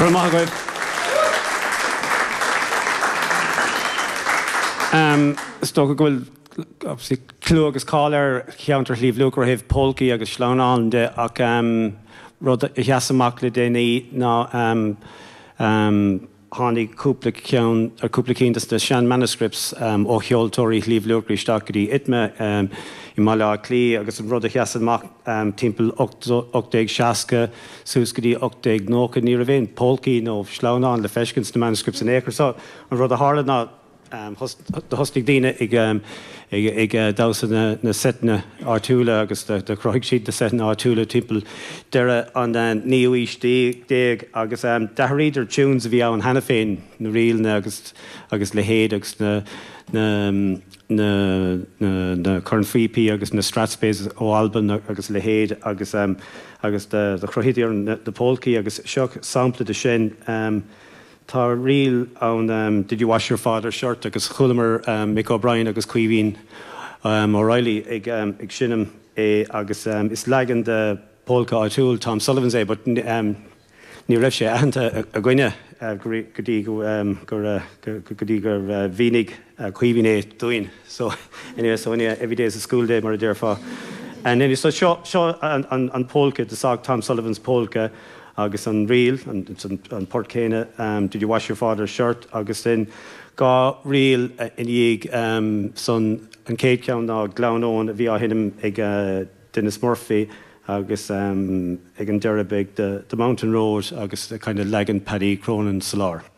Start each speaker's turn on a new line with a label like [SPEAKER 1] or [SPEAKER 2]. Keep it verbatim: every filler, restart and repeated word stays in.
[SPEAKER 1] Go raibh maith agaibh. Um, is dócha go bhfuil obviously clú agus cáil ar cheantar Shliabh Luachra ó thaobh polcaí agus sleamhnáin de ach um, rud a sheas amach le déanaí ná um, um, tháinig cúpla ceann ar cúpla cinn de na sean manuscripts um, ó cheoltóirí Shliabh Luachra isteach go dtí ITMA um, i mBaile Átha Cliath agus an rud a sheas amach um, timpeall ocht déag seasca suas go dtí ocht déag nócha ní raibh aon polcaí nó sleamhnáin le feiscint sna manuscripts in aon chor. So an rud a tharla ná um, do thosnaigh daoine ag, um, ag, ag uh, damhsa na, na seiteanna áitiúla agus do chruthaigh siad na seiteanna áitiúla timpeall deireadh an uh, naoú haois déag agus um, d'athraíodar tunes a bhí ann cheana féin na ríleanna agus agus leithéid agus na na na na, na cornphíopaí agus na strathspeys ó Albain agus leithéid agus um, agus do do chruthaíodar na, na polcaí agus seo sampla de sin um, Tá ríl ann um, Did You Wash Your Father's Shirt agus chualamar um, Mick O'Brien agus Caoimhín um, O'Reilly ag, um, ag seinm é agus um, is leagan de polca áitiúil Tom Sullivan's é, but um, ní raibh sé aitheanta againne uh, go dtí go um, gur uh, go dtí gur uh, mhínigh uh, Caoimhín é dúinn. So anyway, so anyway, every day is a school day mar a déarfá. And anyway, so seo seo an, an, an polca de sac Tom Sullivan's polka agus an ríl an, an, an port céanna um, Did You Wash Your Father's Shirt agus sin dhá ríl uh, in dhiaidh um, san an chéad cheann ná Gleann Eoin a bhí á sheinm ag uh, Dennis Murphy agus um, ag an deireadh beidh the, the Mountain Road agus the kind of leagan Paddy Cronin sa lár.